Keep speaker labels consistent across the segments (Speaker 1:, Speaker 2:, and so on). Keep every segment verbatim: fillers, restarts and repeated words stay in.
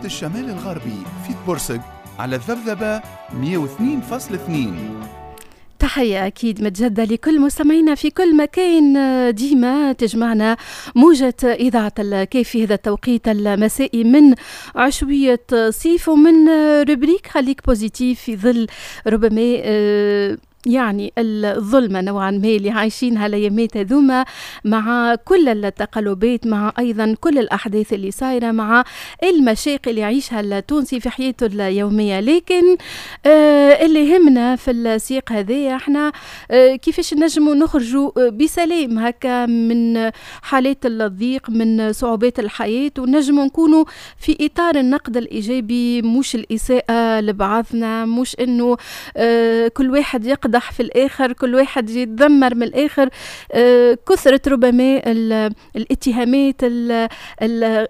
Speaker 1: الشمال الغربي في تبرسق على الذبذبة مئة واثنين فاصلة اثنين.
Speaker 2: تحية أكيد متجدة لكل مستمعينا في كل مكان، ديما تجمعنا موجة إذاعة الكاف في هذا التوقيت المسائي من عشوية صيف ومن rubrique خليك positif في ظل ربما يعني الظلمة نوعا ما اللي عايشينها الأيامات هذوما، مع كل التقلبات، مع أيضا كل الأحداث اللي صايرة، مع المشاق اللي يعيشها التونسي في حياته اليومية. لكن آه اللي يهمنا في السياق هذا احنا آه كيفاش نجموا نخرجوا بسلام هكا من حالات الضيق، من صعوبات الحياة، ونجموا نكونوا في إطار النقد الإيجابي، مش الإساءة لبعضنا، مش إنه آه كل واحد يقدر في الآخر، كل واحد يتذمر من الآخر. آه، كثرة ربما الاتهامات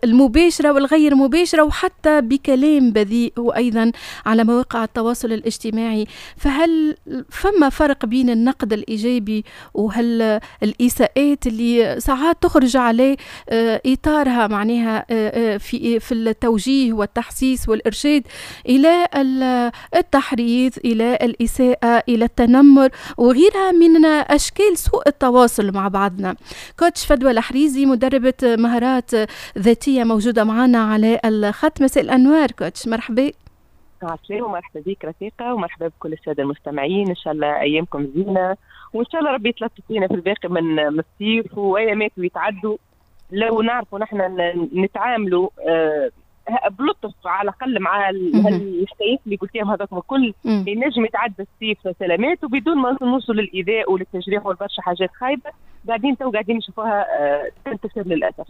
Speaker 2: المباشرة والغير مباشرة وحتى بكلام بذيء، وأيضا على مواقع التواصل الاجتماعي. فهل فما فرق بين النقد الإيجابي وهل الإساءات اللي ساعات تخرج على آه، إطارها معناها آه، في في التوجيه والتحسيس والإرشاد إلى التحريض، إلى الإساءة، إلى التنمر وغيرها من أشكال سوء التواصل مع بعضنا؟ coach فدوى الحريزي مدربة مهارات ذاتية موجودة معنا على الخط. مساء الأنوار coach، مرحبا.
Speaker 3: عسلامة ومرحبا بك رفيقة، ومرحبا بكل السادة المستمعين. إن شاء الله أيامكم زينة، وإن شاء الله ربي يتلطف فينا في الباقي من الصيف وأيامات ويتعدوا. لو نعرفوا نحن نتعاملوا آه بلطف على الاقل مع الحكايات اللي قلتيهم هذاك الكل، ينجم يتعدى الصيف سلامات وبدون ما نوصل للايذاء وللتجريح والبرشا حاجات خايبة قاعدين تو قاعدين نشوفوها تنتشر للاسف.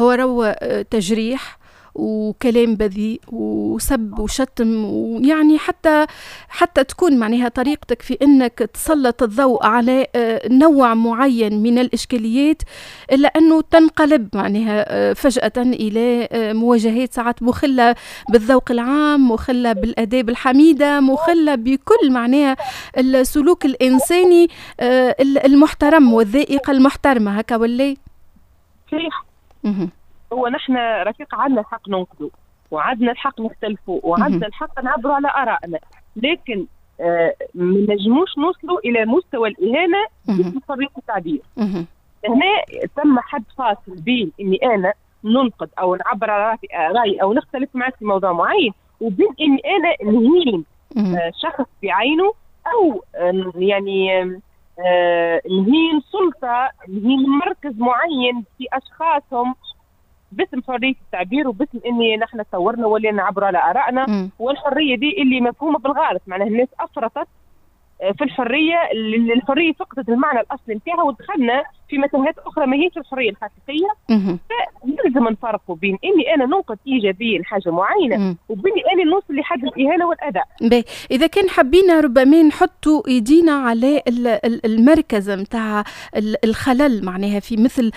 Speaker 2: هو رو تجريح وكلام بذيء وسب وشتم، ويعني حتى حتى تكون معناها طريقتك في انك تسلط الضوء على نوع معين من الاشكاليات، الا انه تنقلب معناها فجأة الى مواجهات ساعات مخلة بالذوق العام، مخلة بالاداب الحميدة، مخلة بكل معناها السلوك الانساني المحترم والذائقة المحترمة، هكا ولا؟
Speaker 3: صحيح. هو نحن رفيق عندنا الحق ننقدوا، وعندنا الحق نختلفوا، وعندنا الحق نعبروا على آرائنا، لكن آه ما نجموش نوصلوا إلى مستوى الإهانة بحرية التعبير. هنا تم حد فاصل بين إني أنا ننقد أو نعبر على رأيي أو نختلف معك في موضوع معين، وبين إني أنا نهين آه شخص بعينه، أو آه يعني آه نهين سلطة، نهين مركز معين في أشخاصهم باسم حرية التعبير وباسم اني نحن تصورنا ولا نعبر على ارائنا. م. والحرية دي اللي مفهومه بالغلط، معناها الناس افرطت في الحرية، الحرية فقدت المعنى الاصلي نتاعها ودخلنا في متاهات اخرى ما هيش الحرية الحقيقية. فلازم نفرقوا بين اني انا ننقد ايجابيا حاجة معينة وبين اني نوصل لحد الاهانة والاذى.
Speaker 2: باهي، اذا كان حبينا ربما نحطوا ايدينا على المركز نتاع الخلل معناها في مثل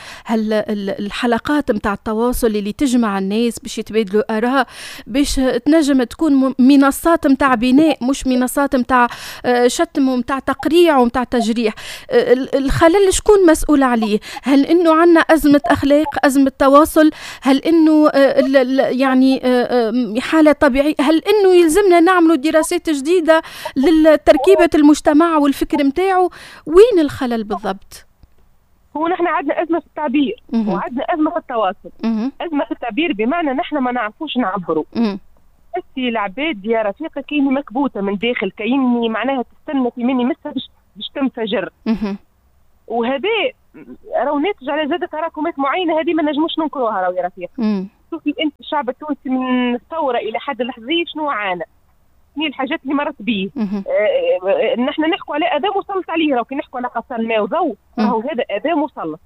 Speaker 2: الحلقات نتاع التواصل اللي تجمع الناس باش يتبادلوا اراء، باش تنجم تكون منصات نتاع بناء، مش منصات نتاع شتم ومتاع تقريع ومتاع تجريح. الخلل شكون مسؤول عليه؟ هل انه عندنا ازمة اخلاق، ازمة تواصل؟ هل انه يعني حاله طبيعية؟ هل انه يلزمنا نعملوا دراسات جديدة لتركيبه المجتمع والفكر متاعه؟ وين الخلل بالضبط؟
Speaker 3: هو نحن عندنا ازمة في التعبير وعندنا ازمة في التواصل. ازمة في التعبير بمعنى نحن ما نعرفوش نعبروا. تحسي العباد يا رفيقه كاينه مكبوته من داخل، كايني معناها تستنى في مني مسها باش باش تنفجر. وهذا راهو ناتج على زاد تراكمات معينة، هذه ما نجموش ننكروها راهو يا رفيق. شوفي انت الشعب التونسي من الثورة الى حد اللحظيه شنو عانى، شنو الحاجات اللي مرت به. آه نحن نحكوا على اذى مسلط عليه، راهو كي نحكوا على قصان ماء وضوء راهو هذا اذى مسلط.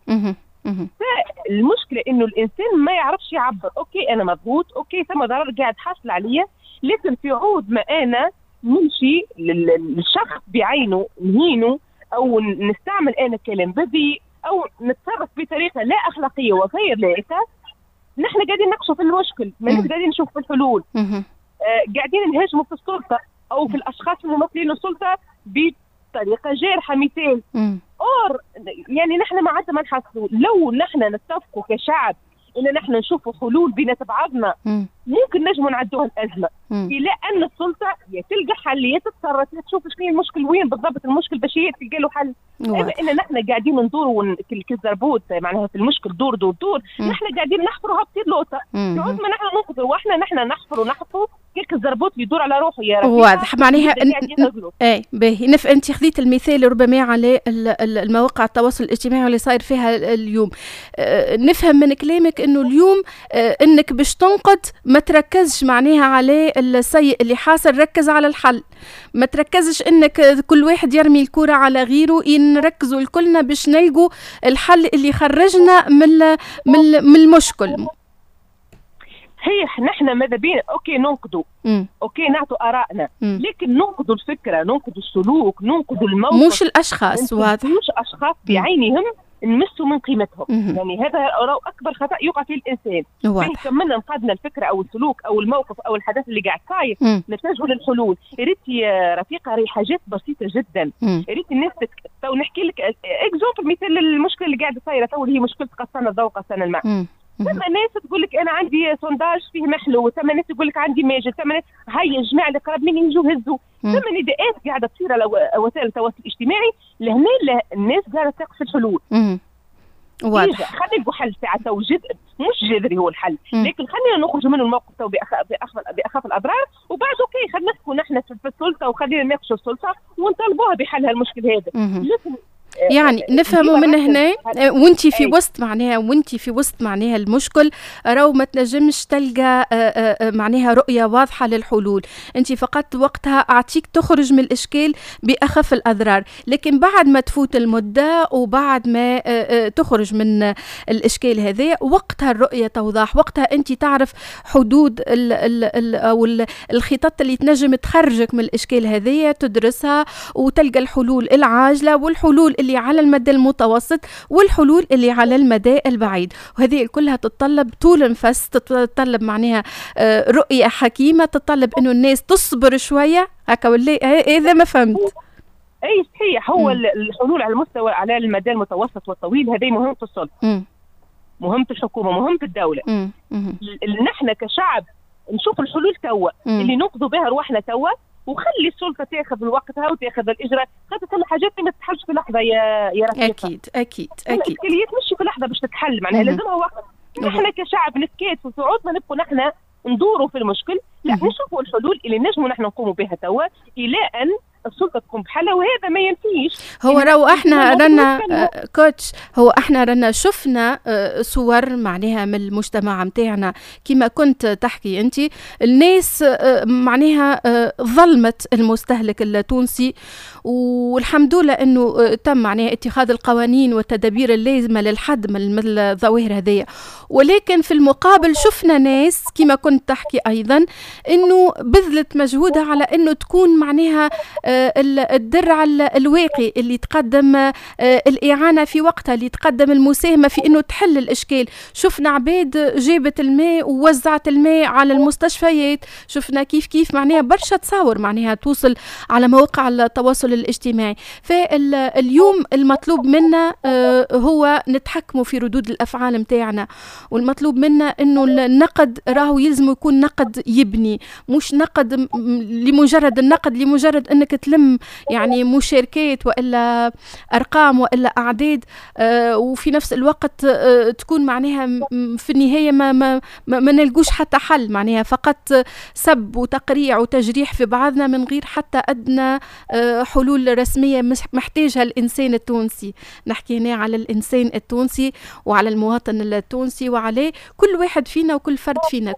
Speaker 3: فالمشكلة انه الانسان ما يعرفش يعبر. OK انا مضغوط، OK ثم ضرر قاعد حاصل عليا، لكن في عود ما انا نمشي للشخص بعينه نهينه او نستعمل انا كلام بذيء او نتصرف بطريقة لا اخلاقية وغير لائقة، نحن قاعدين نقصوا في المشكل، ماناش قاعدين نشوف في الحلول. آه قاعدين نهاجموا في السلطة او في الاشخاص الممثلين للسلطة بطريقة جارحه. مثال اور يعني نحن ما عندنا ما نحصلوا. لو نحن نتفقوا كشعب ان نحن نشوفوا حلول بينات بعضنا ممكن نجموا نعدوها الازمة، الى ان السلطة يا تلقى حل يا تتصرف، يا تشوف شنو المشكل وين بالضبط المشكل باش هي تلقى له حل. اما ان نحن قاعدين ندوروا كالزربوت معناها في المشكل دور دور دور، نحن قاعدين نحفروا هابطين لوطه، عود ما نحن ننقذوا واحنا نحن نحفروا نحفروا كيك الزربوت يدور على روحه يا رفيقة.
Speaker 2: واضح معناها اي باهي. نف انت خذيت المثال ربما على المواقع التواصل الاجتماعي اللي صاير فيها اليوم. أه نفهم من كلامك انه اليوم أه انك باش تنقد ما تركزش معناها على السيء اللي حاصل، ركز على الحل، ما تركزش انك كل واحد يرمي الكرة على غيره، نركزوا الكلنا باش نلقوا الحل اللي خرجنا من من من المشكل.
Speaker 3: صحيح نحن ماذا بينا OK ننقدوا، OK نعطوا ارائنا، لكن ننقدوا الفكرة، ننقدوا السلوك، ننقدوا الموقف،
Speaker 2: مش الاشخاص. واضح،
Speaker 3: مش اشخاص بعينهم نمسوا من قيمتهم. مم. يعني هذا اكبر خطا يقع فيه الانسان.
Speaker 2: واضح.
Speaker 3: كملنا نقدنا الفكرة او السلوك او الموقف او الحدث اللي قاعد صاير، نتجهوا للحلول. ريت يا رفيقه راهي حاجات بسيطة جدا. ريت الناس تك... تو نحكي لك exemple، مثال المشكلة اللي قاعدة صايرة تو اللي هي مشكلة قصان الضوء قصان الماء. ثم ناس تقول لك انا عندي sondage فيه محلو، ثم ناس تقول لك عندي ماجل، ثم ناس هيا الجماعة اللي قرب مني يجوا هزوا، ثم نداءات قاعدة تصير على وسائل التواصل الاجتماعي. لهنا الناس قاعدة تقف الحلول.
Speaker 2: واضح.
Speaker 3: خلينا نلقوا حل ساعة تو جد مش جذري هو الحل، مم. لكن خلينا نخرج منه الموقف تو بأخف بأخف الاضرار، وبعد OK خلينا نحكوا نحن في السلطة وخلينا نناقشوا السلطة ونطالبوها بحل هالمشكل هذا.
Speaker 2: لكن يعني نفهموا من هنا وانت في وسط معناها وانت في وسط معناها المشكل راهو ما تنجمش تلقى معناها رؤية واضحة للحلول، انت فقط وقتها اعطيك تخرج من الاشكال باخف الاضرار، لكن بعد ما تفوت المدة وبعد ما تخرج من الاشكال هذا وقتها الرؤية توضح، وقتها انت تعرف حدود ال ال ال او الخطط اللي تنجم تخرجك من الاشكال هذا، تدرسها وتلقى الحلول العاجلة والحلول اللي على المدى المتوسط والحلول اللي على المدى البعيد، وهذه كلها تتطلب طول نفس، تتطلب معناها رؤية حكيمة، تتطلب انه الناس تصبر شوية هكا ولا اذا ما فهمت.
Speaker 3: اي صحيح، هو م. الحلول على المستوى على المدى المتوسط والطويل هذه مهمة السلطة، مهمة الحكومة، مهمة الدولة. نحن كشعب نشوف الحلول توا اللي ننقذوا بها رواحنا توا، وخلي السلطة تاخذ وقتها وتاخذ الاجراء، خاطر ثم حاجات ما تتحلش في لحظة يا يا رفيقه.
Speaker 2: اكيد اكيد اكيد
Speaker 3: الاشكاليات مش في لحظة باش تتحل، معناها لازمها وقت. نحن كشعب نتكاتف وسعود ما نبقوا نحن ندوروا في المشكل، لا نشوفوا الحلول اللي نجموا نحن نقوموا بها توا الى ان السلطة تقوم بحالها، وهذا ما ينفيش.
Speaker 2: هو راهو احنا رانا coach، هو احنا رانا شفنا صور معناها من المجتمع نتاعنا كما كنت تحكي انت، الناس معناها ظلمت المستهلك التونسي، والحمد لله انه تم معناها اتخاذ القوانين والتدابير اللازمة للحد من الظواهر هذيا، ولكن في المقابل شفنا ناس كما كنت تحكي ايضا انه بذلت مجهودها على انه تكون معناها الدرع الواقي اللي تقدم الإعانة في وقتها، اللي تقدم المساهمة في أنه تحل الإشكال. شفنا عباد جابت الماء ووزعت الماء على المستشفيات، شفنا كيف كيف معناها برشا تصاور معناها توصل على مواقع التواصل الاجتماعي. فاليوم المطلوب منا هو نتحكموا في ردود الأفعال متاعنا، والمطلوب منا أنه النقد راهو يلزم يكون نقد يبني، مش نقد لمجرد النقد، لمجرد أنك تلم يعني مشاركات والا ارقام والا اعداد، آه وفي نفس الوقت آه تكون معناها في النهاية ما ما ما, ما نلقوش حتى حل، معناها فقط سب وتقريع وتجريح في بعضنا من غير حتى ادنى آه حلول رسمية محتاجها الانسان التونسي. نحكي هنا على الانسان التونسي وعلى المواطن التونسي وعلى كل واحد فينا وكل فرد فينا.